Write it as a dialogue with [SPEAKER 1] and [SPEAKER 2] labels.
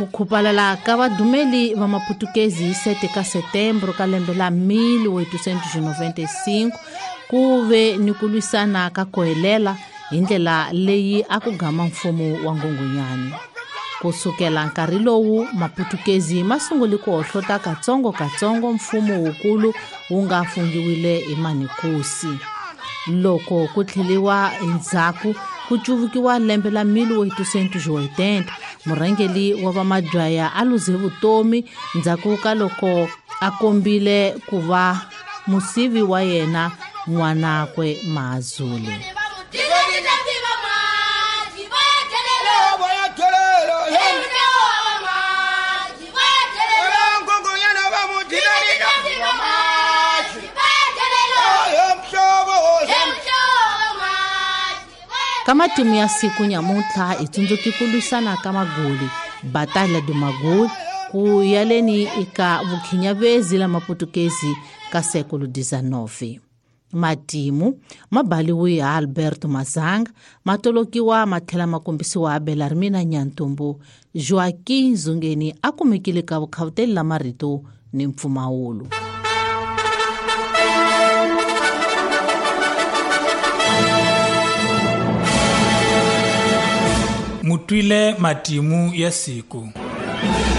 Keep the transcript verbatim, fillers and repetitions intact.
[SPEAKER 1] Ku khupalala ka vadumeli va maputukezi hi sete ka setembro ka lembe la mil oitocentos e noventa e cinco ku ve ni ku lwisana ka kohelela hi ndlela leyi a ku gama mfumo wa Nghunghunyani. Ku sukela nkarhi lowu maputukezi ma sungule ku hohlota katsongo-katsongo mfumo wukulu wu nga fungiwile hi Manikusi. Loko ku tlheliwa endzhaku ku cuvukiwa lembe la mil oitocentos e oitenta, murhangeri wa vamadzwaya a luze vutomi ndzhaku ka loko a kombile ku va musivi wa yena n'wanakwe Mazulu. Ka matimu ya siku nyamuntlha hi tsundzuki ku lwisana ka Magoli, Batalha do Magoli, ku yaleni eka vukhinyavezi la maputukezi ka século dezenove. Matimu ma baliwe hi Alberto Mazanga, ma tolokiwa ma tlhela ma kombisiwa Belarmina Nyantumbu. Joaquim Zungeni a kumekile ka vukhavuteli la marito ni mpfumawulo.
[SPEAKER 2] Mutwile matimu ya siku.